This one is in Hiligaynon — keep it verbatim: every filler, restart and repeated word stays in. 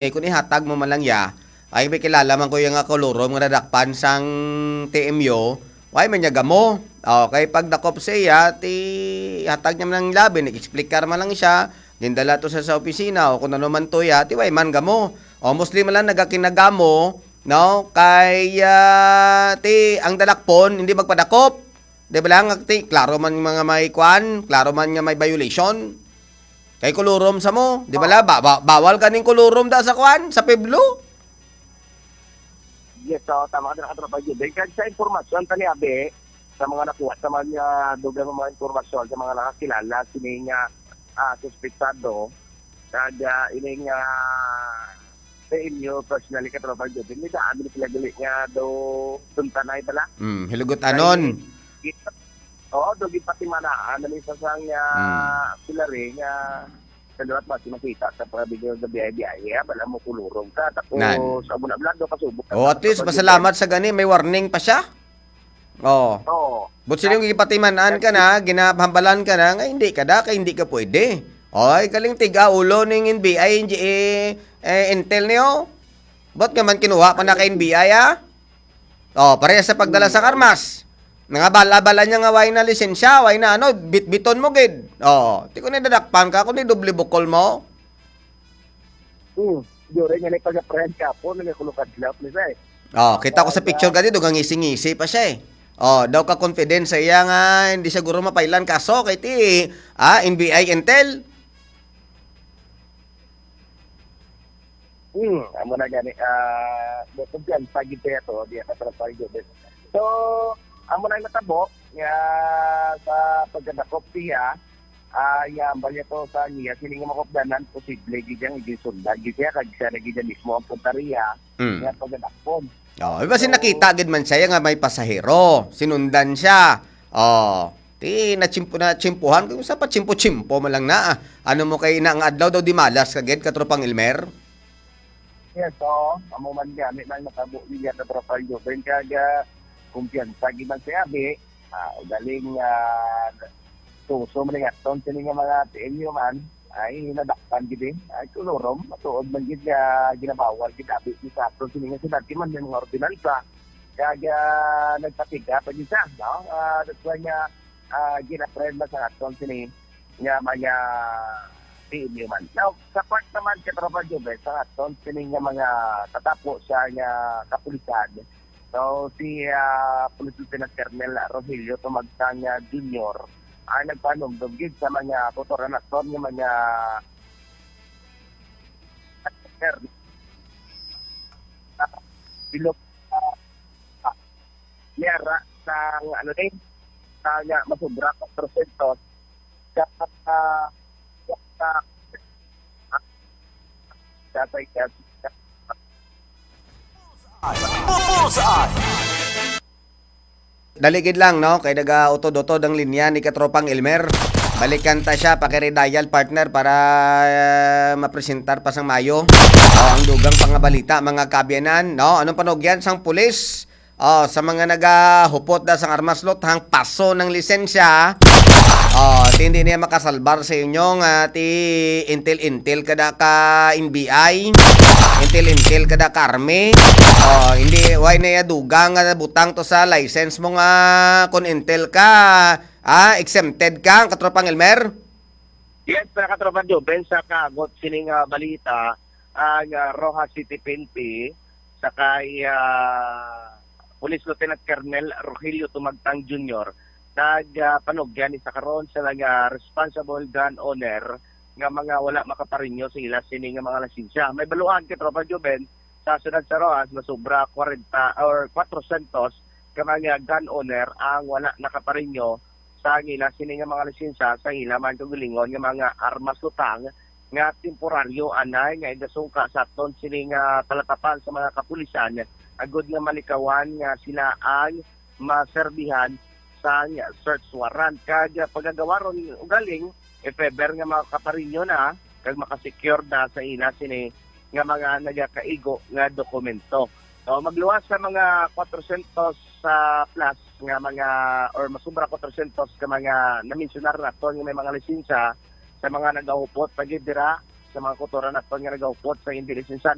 Eh, kung ihatag mo man lang ya, ay may kilala man ko yung nga kulurom nga nadakpan sang T M U, why man niya gamo? Okay, pagdakop sa iya, ti hatag niya man lang labi, nag-explicar man lang siya, gindala to sa, sa opisina, o kung ano man to ya, ti why man gamo? O mostly man lang nagakinagamo, no? Kay, ah, ti, ang dalakpon, hindi magpadakop. Di ba lang, ti, klaro man mga may kwan, klaro man nga may violation. Kay kulurom sa mo, di ba la? Ba, ba, bawal kaning kulurom da sa kwan, sa piblo. Yes, so, tama ka, Katropa Juben. Kag sa impormasyon, tani, abi, sa mga nakuha, sa mga dugang mga impormasyon, sa mga nakakilala, sini nga, ah, suspetsado, kag, ah, ini nga sa inyo, personally, Katropa Juben, may daan sila gali nga do tuntanay pala. Hmm, hilugot anon. Kay, Oo, do gipatimanaan na may isa sang, ah, Hmm. pilari nga sa liwat ba, si makita sa pagkabigyan sa B I B I, eh, bala mo kulurog ka, tapos Nan. sa muna vlog, pasubok ka Oh, sa at least, pagkabigyan. Masalamat sa gani, may warning pa siya. Oh. Oo. But sino yung gipatimanaan ka na, ginahambalan ka na, nga hindi ka da, kay hindi ka pwede. Oy, kaling tiga ulo ning N B I, eh, eh, intel niyo. Ba't ka man kinuha pa na kay N B I, ah? Oh, pareha sa pagdala sa karmas. Nangabal-abala niya nga way na lisensya, way na ano, bitbiton mo gid. Oh, ti ko ni dadakpan ka, kung ni doble bukol mo. Hmm, yun rin nga nagpag-apprehend ka po, nagkakulukad lap ni Zay. Oh, kita ko sa picture ka dito, kang ngisi-ngisi pa siya eh. Oh, daw ka confidence sa iya nga hindi siya guro mapailan kaso kay ti, ah, N B I Intel. Hmm, amo na gani, ah, kumpiyansa gid kaya to, di ka trapal gid. So, amo na yung natabo, nga sa pagkadakop siya, ah, nga ambal niya to sa niya, sini nga makupdanan, posible gid yang iginsundan gid siya, kag siya na gid mismo ang puntaria, Mm. nga pagkadakop. Oh, iba si So, nakita gid man siya nga may pasahero, sinundan siya. Oh, ti natsimpo-, natsimpuhan, kung sa patsimpo-tsimpo man lang na, ah. Ano mo kay ina nga adlaw daw di malas ka gid, katropang Elmer? Yes, oo. Amo man gani nang natabo niya, katropang Joven, kag, ah, kumpiyansa gid man si Abi. Ah, ugaling, ah, suso man nga ton sini nga mga T M U man, ay nadakpan gid eh. Ay, kulurom, matuod man gid nga ginabawal gid Abi ni sa aton sini nga siyudad, kay man may mga ordinansa. Kag, ah, nagpatiga pa gid siya, no? Ah, that's why nga, ah, gin-apprehend man sa aton sini nga mga T M U man. Now, sa part naman, katropa Jubes, sa aton sini nga mga katapo sa nga kapulisan, so, si, ah, Police Lieutenant Colonel Rogelio Tumagtang, ah, Junior, ang nagpanumdum gid sa mga kotoran naton nga mga bilog, ah, ah, yara sa, ano ni, sa nga masubra quatro cientos sa, sa, sa, sa, sa, Bullseye! Dali gid lang, no? Kay nagautod-utod ang linya ni Katropang Elmer. Balikan ta siya, pakire-dial, partner, para, ah, mapresentar pa sang mayo. Oh, ang dugang pangabalita, mga kaabyanan, no? Anong panugyan sang pulis? Oh, sa mga nagahupot da sang armas, lutang paso ng lisensya. Oh, ti hindi niya makasalbar sa inyo nga ti intel-intel kada ka N B I, intel-intel kada ka army. Oh, hindi, why na iya dugang nga butang to sa license mo nga kung intel ka, ah, exempted ka, ang katropang Elmer? Yes, sa katropa Joven, sa kagot sining, ah, balita, ang, ah, Roxas City P N P, sa kay, ah, Police Lieutenant Colonel Rogelio Tumagtang Junior, nag, ah, panugyan ni sa karon sa mga responsible gun owner nga mga wala makaparinyo sa ila sini nga mga lisensya. May baluhan, katropa Joven, sa siyudad sa Roxas, masubra kwarenta or quatro cientos ka mga gun owner ang wala nakaparinyo sa ila sini nga mga lisensya sa ila man kaugalingon nga mga armas lutang nga temporaryo anay nga igasungka sa aton sini nga talatapan sa mga kapulisan agud nga malikawan nga sila ang maserbihan sang search warrant. Kag pagagawaron ugaling, if ever nga makaparinyo na kag makasecure na sa ila sini nga mga nagakaigo nga dokumento. So, magluwas sa mga quatro cientos plus nga mga, or masubra quatro cientos ka mga namensyunar naton nga may mga lisensya sa mga nagahupot pa gid dira sa mga kultura naton nga nagahupot sa iyang dili sinsan.